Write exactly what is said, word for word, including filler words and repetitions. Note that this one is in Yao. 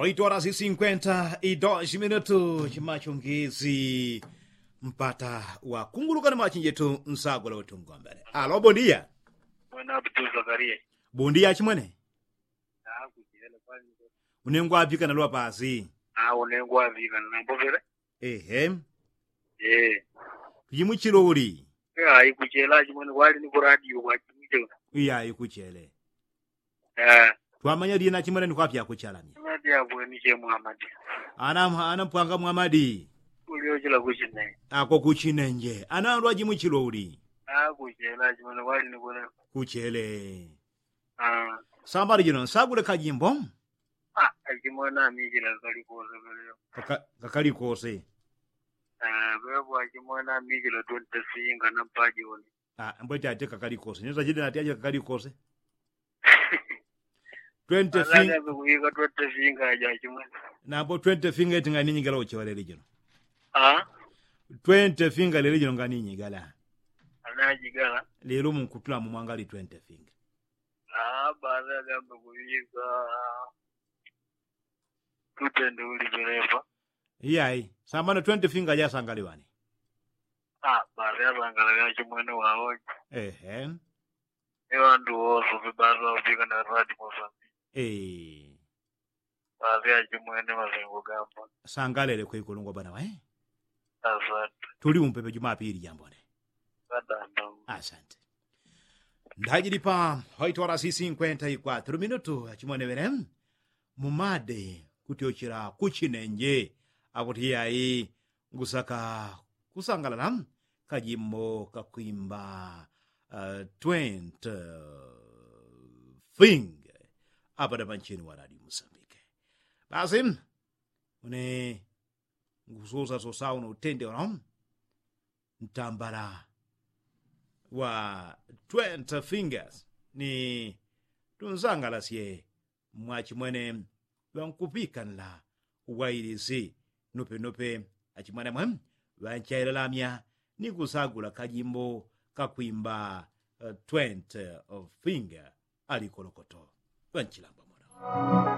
Oito horas i sinkwenta i dos minutu chimachungisi. Mpata wakunguluka ni machinjetu nsagula utungombele. Alo bondia. Mwana abutu zakaria. Bondia chimwene. Unengwa apika na lwa pasi. Unengwa apika na mbovele. Ehe. Kuchimuchilo uli. Aikuchela chimwene kwali ni kuradio kwa chimuchilo. Iya aikuchele. Twamanya lina chimwene ni kwapya kuchalamya. Ana mpwanga mwamadi. Uliochela kuchine. Ako kuchinenje ana lwa chimuchilo uli. Akuchela chimwene kwali ni kuradio. Kuchele. Sambali jino nsagule kajimbo. Achimwene amijila kakali kose. Pepo achimwene amijila twenty singa na mpajoni. Mbwete ati kakali kose nyosa chide nati aja kakali kose. Twenty singa aja achimwene. Nambo twenty finga eti ngani nyigala uchewalele jino. Twenty finga lele jino ngani nyigala. Lelo munkutula mumwangali twenty finga. Baada agambe kuiga. Tutende uli perepa. Iyai sambano twenty finga jasangaliwani. Baada asangalali achimwene waoji. Ehe. Iwandu woso pebasa upika na radi mosambiki. Baada achimwene masengo gamba. Sangalele kwekulungwa bwana wae. Tuli umpepe jumapili jambone. Asante. Ndajili pa hoito horas i sinkwenta i kwatru minutu achimwene wene. Mumade kutyochela kuchinenje. Akuti yai ngusaka kusangalala kajimbo kakwimba twent. Thing. Apada pancheni wa radio musambike. Basi une ngusosasosa uno utende uno ntambala wa twenty fingers ni tunsangalasye. Mwachimwene ŵankupikanila uwailisi nupenope achimwene mwe ŵanchailalamya ni kusagula kajimbo kakwimba twenty finger. Alikolokoto ŵanchilamba mwono.